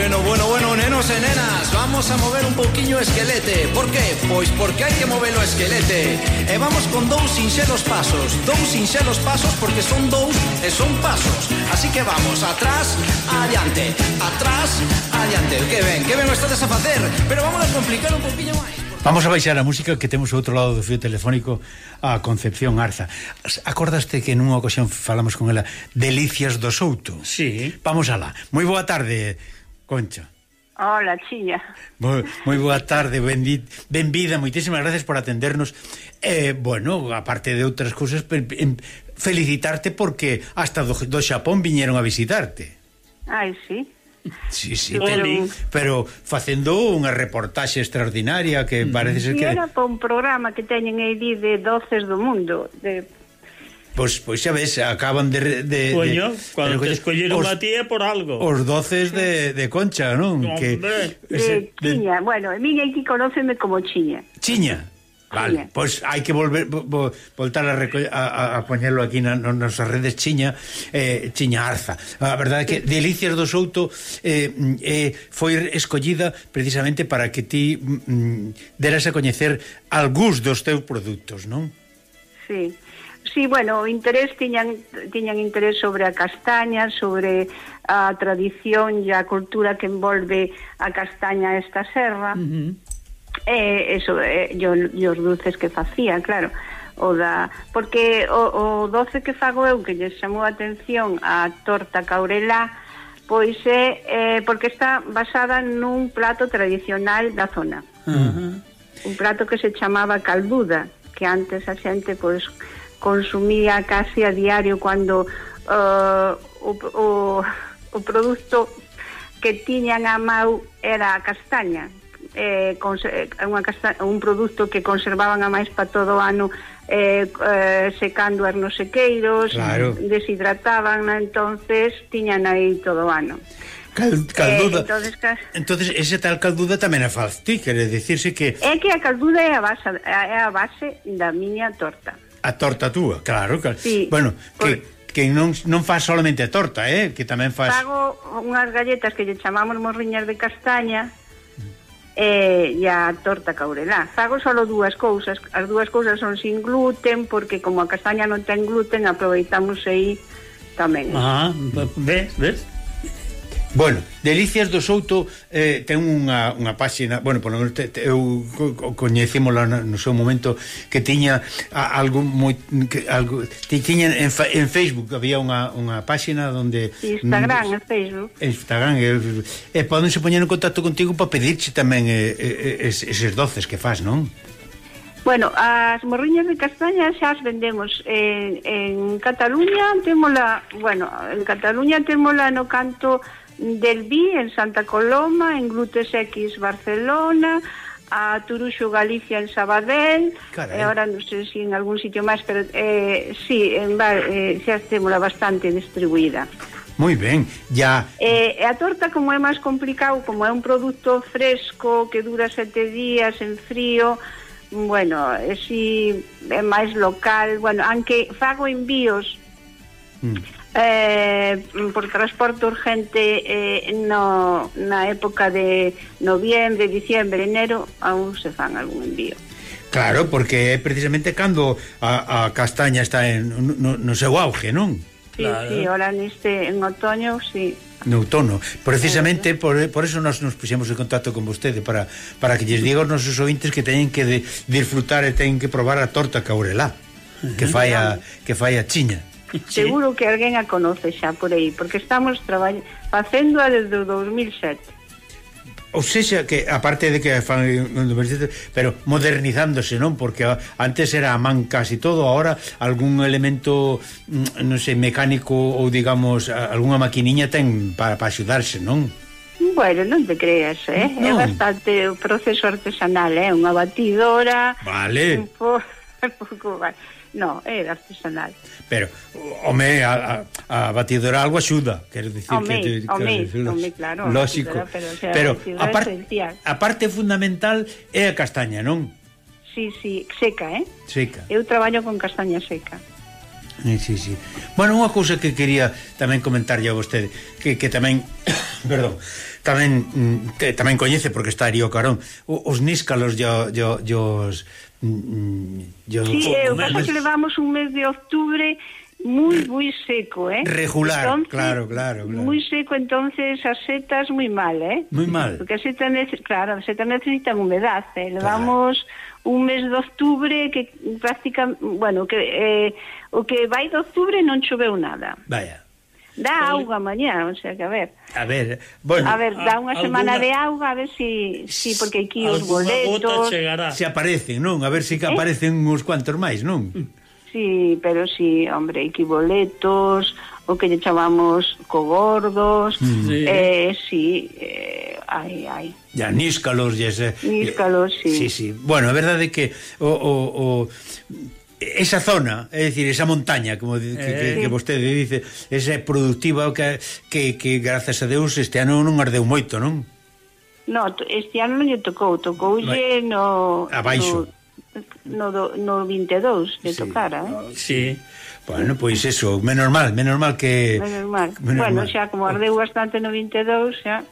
Bueno, nenos e nenas, vamos a mover un pouquiño o esquelete. Por qué? Pois porque hai que mover o esquelete. E vamos con dous sinxelos pasos porque son dous e son pasos. Así que vamos, atrás, adiante. Que ben o estades a facer. Pero vamos a complicar un pouquiño máis. Vamos a baixar a música, que temos ao outro lado do fío telefónico a Concepción Arza. Acordaste que nunha ocasión falamos con ela Delicias do Souto? Sí. Vamos alá. Moi boa tarde, Concha. Hola, Chiña. Moi boa tarde, benvida, moitísimas gracias por atendernos. Bueno, aparte de outras cousas, felicitarte porque hasta do Xapón viñeron a visitarte. Ai, sí. Sí, Pero facendo unha reportaxe extraordinaria que parece ser que... era para un programa que teñen aí de Doces do Mundo Pois xa ves, acaban de Coño, cando te escolleron a ti é por algo. Os doces de Concha, non? De Chiña, bueno, a mí aquí conóceme como Chiña. Chiña. Vale, pois hai que voltar a poñerlo aquí nas nosas redes Chiña Arza. A verdade é que Delicias do Souto foi escollida precisamente para que ti deras a coñecer algúns dos teus produtos, non? Sí, bueno, o interés tiñan interés sobre a castaña, sobre a tradición e a cultura que envolve a castaña esta serra. Eso, e os dulces que facía, claro, porque o doce que fago eu, que lle chamou a atención a torta caurelá, pois é porque está basada nun plato tradicional da zona. Un plato que se chamaba calduda, que antes a xente pois consumía casi a diario cando o produto que tiñan a mau era a castaña. Un produto que conservaban a máis para todo o ano, secando nos sequeiros, claro. Deshidrataban, entonces tiñan aí todo o ano. Calduda. Entonces ese tal calduda tamén a faz ti, quere dicirse que... É que a calduda é a base da miña torta. A torta túa, claro. Sí, bueno, que non faz solamente a torta, que tamén faz... Fago unhas galletas que lle chamamos morriñas de castaña, e a torta caurelá. Fago só dúas cousas. As dúas cousas son sin gluten, porque como a castaña non ten gluten, aproveitamos aí tamén. Ves? Bueno, Delicias do Souto ten unha páxina, bueno, por lo menos eu coñecímola no seu momento, que tiña algo tiña en Facebook, había unha páxina donde Instagram, podense poñer en contacto contigo para pedirche tamén eses doces que faz, non? Bueno, as morriñas de castaña xa as vendemos en Cataluña, témola no canto del Vi, en Santa Coloma, en Glutes X Barcelona, a Turuxo Galicia en Sabadell, e agora non sei se en algún sitio máis, pero sí, xa témola bastante distribuída. Moi ben, ya. A torta, como é máis complicado, como é un produto fresco que dura 7 días en frío, bueno, si é máis local, bueno, aunque fago envíos por transporte urgente na época de noviembre, diciembre, enero, aún se fan algún envío. Claro, porque é precisamente cando a castaña está no seu auge, non? Sí, claro. Sí, ahora en outoño, sí. No outono, precisamente por eso nos puxemos en contacto con vostede para que lles diga aos nosos ouvintes que teñen que disfrutar e teñen que probar a torta caurelá que fai a Chiña. Seguro que alguén a conoce xa por aí, porque estamos facéndoa desde o 2007. Ou seja, que aparte de que fan pero modernizándose, non? Porque antes era a man casi todo, ahora algún elemento, non sei, mecánico ou digamos, algunha maquiniña ten para axudarse, non? Bueno, non te creas, É bastante o proceso artesanal, unha batidora. Vale. Un pouco, no, é artesanal. Pero, home, a batidora algo axuda, quero dicir claro, lógico, pero a parte fundamental é a castaña, non? Sí, seca, Seca. Eu traballo con castaña seca. Sí. Bueno, unha cousa que quería tamén comentarlle a vostede, que tamén perdón, tamén coñece porque está Arío Carón os níscalos Sí, o que pasa que levamos un mes de octubre moi seco, regular, entonces, claro. Moi seco, entonces as setas moi mal, moi mal, porque as setas necesitan humedad, levamos un mes de octubre que prácticamente, bueno, que o que vai de octubre non choveu nada. Vaya. Dá auga mañá, o sea que a ver, bueno, dá unha semana de auga, a ver si porque aquí os boletos se aparecen, non? A ver se aparecen uns cuantos máis, non? Sí, pero sí, hombre, aquí boletos, o que lle chamamos cogordos, hai. Ya, níscalos, níscalos, sí. Sí. Bueno, a verdade é que esa zona, é dicir, esa montaña como que vostede dice, esa é productiva que grazas a Deus este ano non ardeu moito, non? No, este ano non lle tocoulle no abaixo no 22 lle tocara, Sí. Bueno, pois eso, menos mal que bueno, xa como ardeu bastante no 22, xa.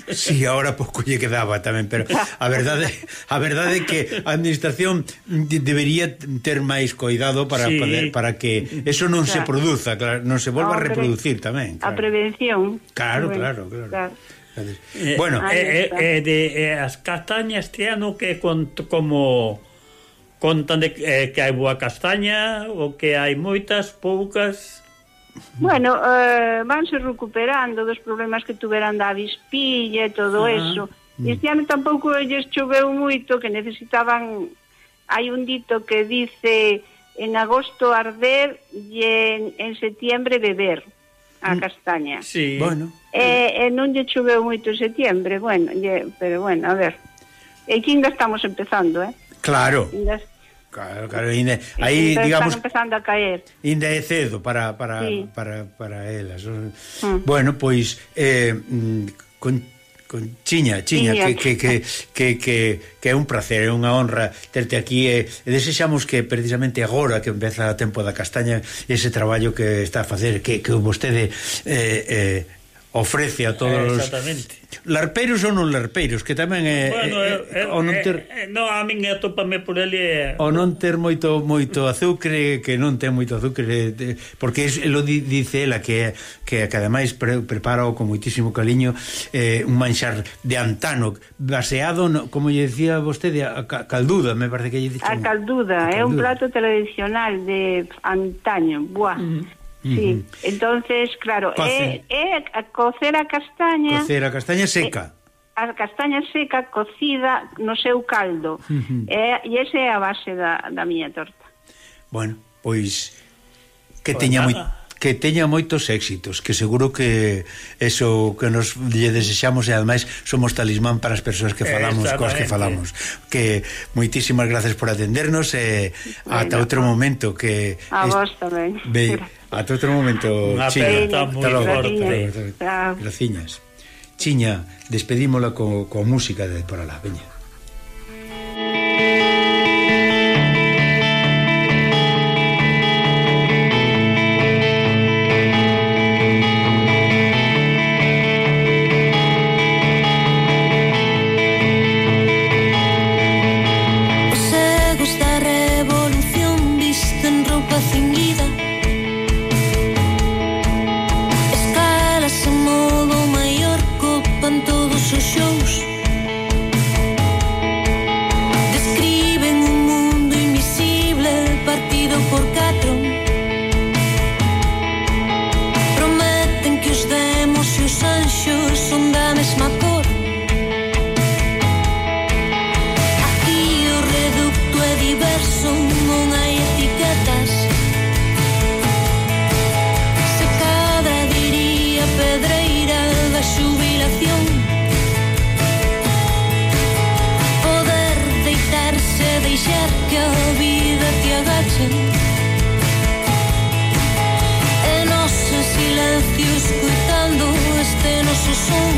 Sí, ahora pouco lle quedaba tamén, pero a verdade é que a administración debería ter máis cuidado para que eso non se produza, claro, non se volva a reproducir tamén. Claro. A prevención. Claro. Bueno, as castañas este ano que como contan de que hai boa castaña ou que hai moitas, poucas. Bueno, vanse recuperando dos problemas que tuveran da avispilla e todo eso. Este ano tampouco lles choveu moito, que necesitaban. Hai un dito que dice en agosto arder e en setiembre beber a castaña. Sí. Bueno. Non lle choveu moito en setiembre, pero bueno, a ver. E que ainda estamos empezando, Claro. Claro, aí digamos están empezando a caer. Ainda é cedo para elas. Bueno, pois con Chiña que é un placer, é unha honra terte aquí e desexamos que precisamente agora que empeza o tempo da castaña ese traballo que está a facer que vostede ofrece a todos exactamente. Larpeiros ou non larpeiros, que tamén a min atópame por ele o non ter moito azucre, que non ten moito azucre, porque lo dice ela que ademais prepara con moitísimo cariño un manxar de antano baseado, como lle decía vostede, a calduda, me parece que lle dixo. A calduda é un plato tradicional de antaño, Sí, entonces, claro, é cocer a castaña seca. A castaña seca cocida no seu caldo. E esa é a base da miña torta. Bueno, pois que teña moitos éxitos, que seguro que eso que nos lle desexamos e ademais somos talismán para as persoas que falamos, coas que falamos. Que moitísimas gracias por atendernos e ata outro momento que a vos tamén. Ata outro momento, Chiña. Graciñas. Chiña, despedímola coa música de por alá, veña. E nosso silencio escutando este noso son